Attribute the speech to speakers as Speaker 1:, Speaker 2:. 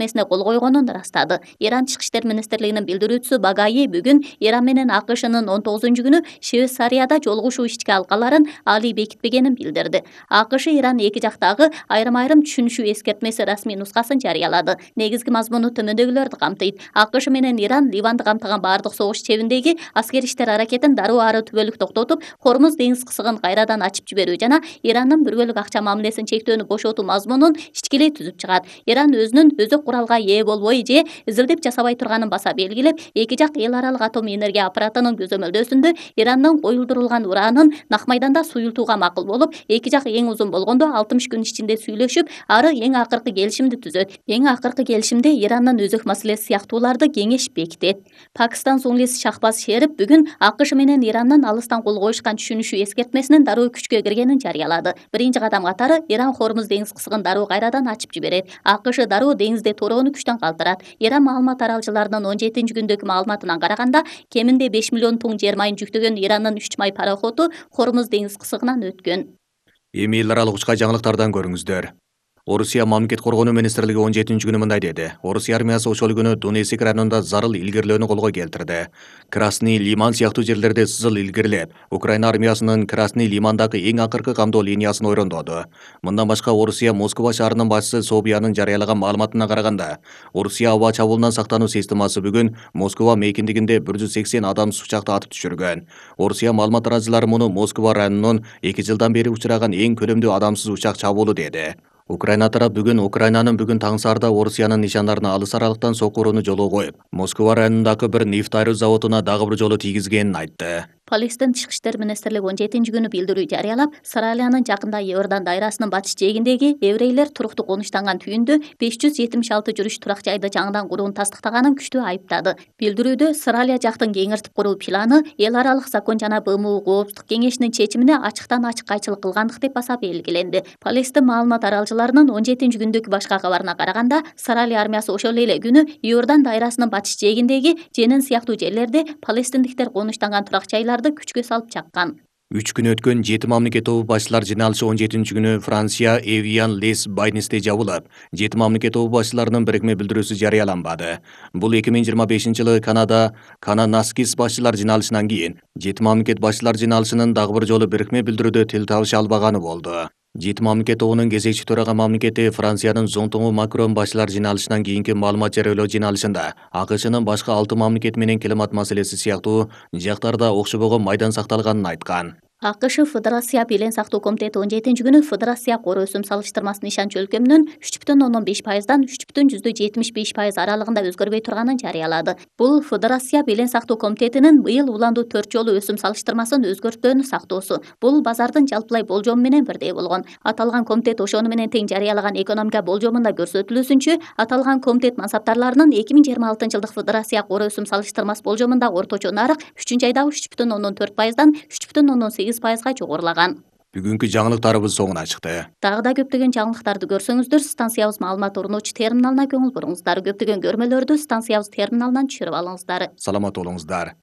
Speaker 1: эскертмесине кол койгонун ырастады. Иран Тышкы иштер министрлигинин билдирүүчүсү Багаи бүгүн Иран менен АКШнын 19-күнү Швейцарияда жолугушуу ички алкаларын али бекитпегенин билдирди. АКШ Иран эки жактагы айрым түшүнүшүү эскертмеси расмий нускасын жарыялады. Негизги мазмуну төмөндөгүлөрдү камтыйт. АКШ менен Иран Ливанды камтыган баардык согуш чебиндеги аскери иштер аракетин дароо ары түбөлүк токтотуп, Хормуз деңиз кысыгын кайрадан ачып жиберүү жана Ирандын бир бөлүк акча мамилесин чектөөнү бошотуу мазмунун ичкилей түзүп чыгат. Иран өзүнүн өзөк куралга ээ болбой же изилдеп жасабай турганын баса белгилеп, эки жак эл аралык атом энергия аппаратынын көзөмөлдөөсүндө Ирандын коюлдурулган уранын нак майданда суюлтууга макул болуп, эки жак эң узун болгондо 60 күн ичинде сүйлөшүп, ары эң акыркы келишимди түзөт. Эң акыркы келишимде Ирандын өзөк маселеси сыяктууларды кеңеш бекитет. Пакистан суңлиси Шахбаз Шерип бүгүн АКШ менен Ирандын алыстан кол коюшкан түшүнүшүү эскертмесинин дароо күчкө киргенин жарыялады. Биринчи кадам катары Иран Хормуз деңиз кысыгын дароо кайрадан ачып жиберет. АКШ дароо деңизде төрөөнү күчтөн калтырат. Иран маалымат таралчыларынын 17-күндөгү маалыматынан караганда, кеминде 5 миллион тонн жер майын жүктөгөн Ирандын 3 май пароходу Хормуз деңиз кысыгынан өткөн.
Speaker 2: Эми эл аралык учка жаңылыктардан көрүңүздөр. Орусия мамлекет коргонуу министрлиги 17-күнү мындай деди. Орусия армиясы ошол күнү Донецк районунда зарыл илгирилөөнү колго келтирди. Красный Лиман сыяктуу жерлерде сызыл илгирилеп, Украина армиясынын Красный Лимандагы эң акыркы камдоо линиясын ойрондоду. Мындан башка Орусия Москва шаарынын башчысы Собиянын жарыялаган маалыматына караганда, Орусия аба чабуулунан сактануу системасы бүгүн Москва мейкиндигинде 180 адамсыз учакты атып түшүргөн. Орусия маалымат таратчылары муну Москва районунун 2 жылдан бери учураган эң көлөмдүү адамсыз учак чабуулу деди. Украина тарап Украинанын бүгүн таң саарда Орусиянын нишандарына алыс аралыктан сокку урууну жолго коюп, Москва районундагы бир нефть айруу заводуна дагы бир жолу тийгизгенин айтты.
Speaker 1: Палестин Тышкы иштер министрлиги 17-күнү билдирүү жарыялап, Сыралиянын жакында Иордан дайрасынын батыш жээгиндеги еврейлер туруктуу конуштанган түйүндө 576 жүрүш турак жайды жаңыдан курууну тастыктаганын күчтүү айыптады. Билдирүүдө Сыралия жактын кеңиртип куруу планы эл аралык закон жана БМУ коопсуздук кеңешинин чечимине ачык кайчылык кылгандык деп баса белгиленди. Палестин маалымат таралчыларынын 17-күндөгү башка кабарына караганда, Сыралия армиясы ошол эле күнү Иордан дайрасынын батыш жээгиндеги Женин сыяктуу жерлерде палестиндиктер конуштанган турак жайларды күчкө салып чаккан.
Speaker 2: 3 күн өткөн 7 мамлекет тобу башчылар жыйналышы 17-күнү Франция Эвиан Лес Байнисте жабылып, 7 мамлекет тобу башчыларынын бирикме билдирүүсү жарыяланбады. Бул 2025-жылы Кананаскис башчылар жыйналышынан кийин 7 мамлекет башчылар жыйналышынын дагы бир жолу бирикме билдирүүдө тил табыша албаганы болду. 7 мамлекет тобунун кезекчи төрага мамлекети Франциянын Зонтоңу Макрон башчылар жыйналышынан кийинки маалымат жарыялоо жыйналышында АКШнын башка 6 мамлекет менен климат маселеси сыяктуу жактарда окшобогон майдан сакталганын айткан.
Speaker 1: АКШ Федерация Белен сактоо комитети 17-күнү Федерация кор өсүм салыштырмасынын ишенч өлчөмүнүн 3,5%дан 3,75% аралыгында өзгөрбөй турганын жарыялады. Бул Федерация Белен сактоо комитетинин быйыл уланду 4 жолу өсүм салыштырмасын өзгөртүүнү сактоосу. Бул базардын жалпылай болжому менен бирдей болгон. Аталган комитет ошону менен тең жарыялаган экономика болжомунда көрсөтүлүүсүнчө, аталган комитет мансаптарларынын 2026-жылдык Федерация кор өсүм салыштырмасы болжомунда орточо нарык 3-айда 3,4%дан 3,8%га жогорулаган.
Speaker 2: Бүгүнкү жаңылыктарыбыз соңуна чыкты.
Speaker 1: Дагы да көптөгөн жаңылыктарды көрсөңүздөр, станциябыз маалымат орнотуучу терминалына көңүл буруңуздар. Көптөгөн көрмөлөрдү станциябыз терминалынан түшүрүп алыңыздар.
Speaker 2: Саламат болуңуздар.